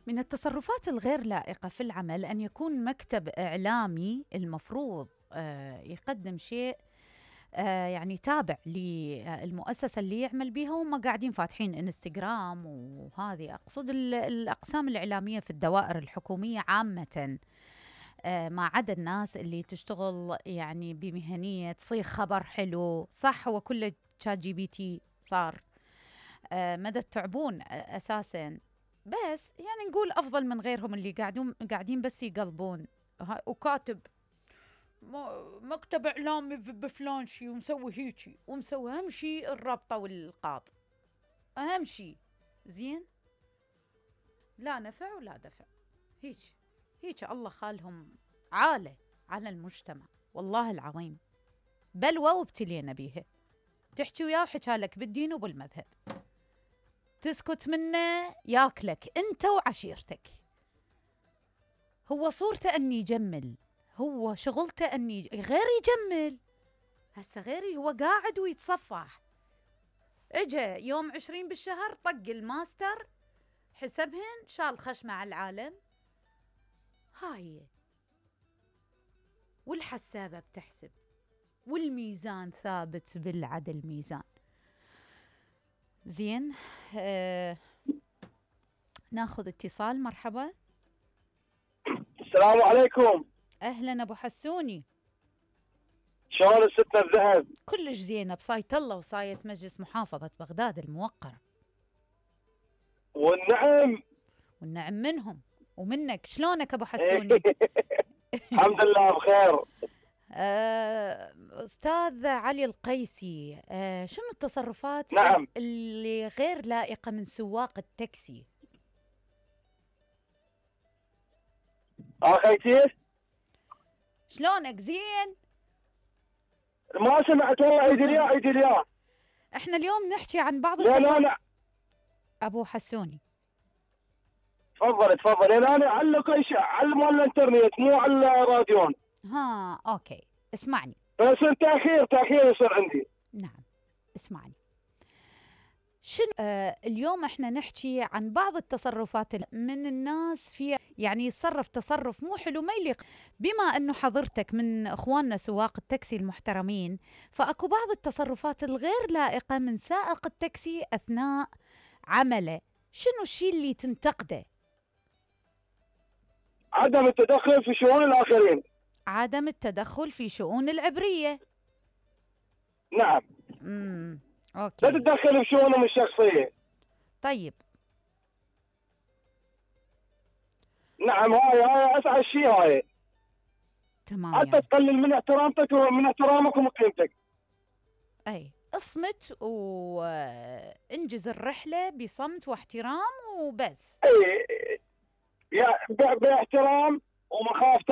من التصرفات الغير لائقة في العمل أن يكون مكتب إعلامي المفروض يقدم شيء يعني تابع للمؤسسة اللي يعمل بيها، وهم قاعدين فاتحين انستغرام، وهذه أقصد الأقسام الإعلامية في الدوائر الحكومية عامة، ما عدا الناس اللي تشتغل يعني بمهنية تصيغ خبر حلو. صح، هو كله شات جي بي تي صار، مدى التعبون أساساً، بس يعني نقول أفضل من غيرهم اللي قاعدين بس يقلبون وكاتب مكتب إعلامي بفلان شي ومسوي هيجي ومسوي. أهم شي الرابطة والقاط، أهم شي زين، لا نفع ولا دفع. هيك الله خالهم عالة على المجتمع، والله العظيم بلوى وابتلينا بيها. تحكي وياه وحكالك بالدين وبالمذهب، تسكت منه ياكلك انت وعشيرتك. هو صورته اني يجمل، هو شغلته اني غير يجمل. هسه غيري هو قاعد ويتصفح، اجا يوم 20 بالشهر طق الماستر حسبهن، شال خشمه على العالم. هاي والحسابة بتحسب، والميزان ثابت بالعدل ميزان. زين، ناخذ اتصال. مرحبا. السلام عليكم. اهلا ابو حسوني، شلون الستة الذهب؟ كلش زينه بصاية الله وصاية مجلس محافظة بغداد الموقرة. والنعم منهم ومنك. شلونك ابو حسوني؟ الحمد لله بخير. استاذ علي القيسي، شنو التصرفات نعم اللي غير لائقة من سواق التاكسي؟ اخيتي شلونك؟ زين؟ ما سمعت والله. عيد اليا احنا اليوم نحكي عن بعض لا ابو حسوني. تفضل. انا اعلق على الانترنت مو على الراديو. ها اوكي، اسمعني. بس تاخير يصير عندي. نعم اسمعني. شنو اليوم احنا نحكي عن بعض التصرفات من الناس في يعني يتصرف تصرف مو حلو، ما يليق. بما انه حضرتك من اخواننا سواق التاكسي المحترمين، فاكو بعض التصرفات الغير لائقة من سائق التاكسي اثناء عمله. شنو الشيء اللي تنتقده؟ عدم التدخل في شؤون الاخرين. عدم التدخل في شؤون العبرية. نعم. اوكي. لا تتدخل في شؤونهم الشخصية. طيب. نعم، هاي اسعد شيء. هاي تمام، حتى يعني تقلل من احترامتك ومن احترامك ومقيمتك. اي اصمت وانجز الرحلة بصمت واحترام وبس. اي باحترام ومخافة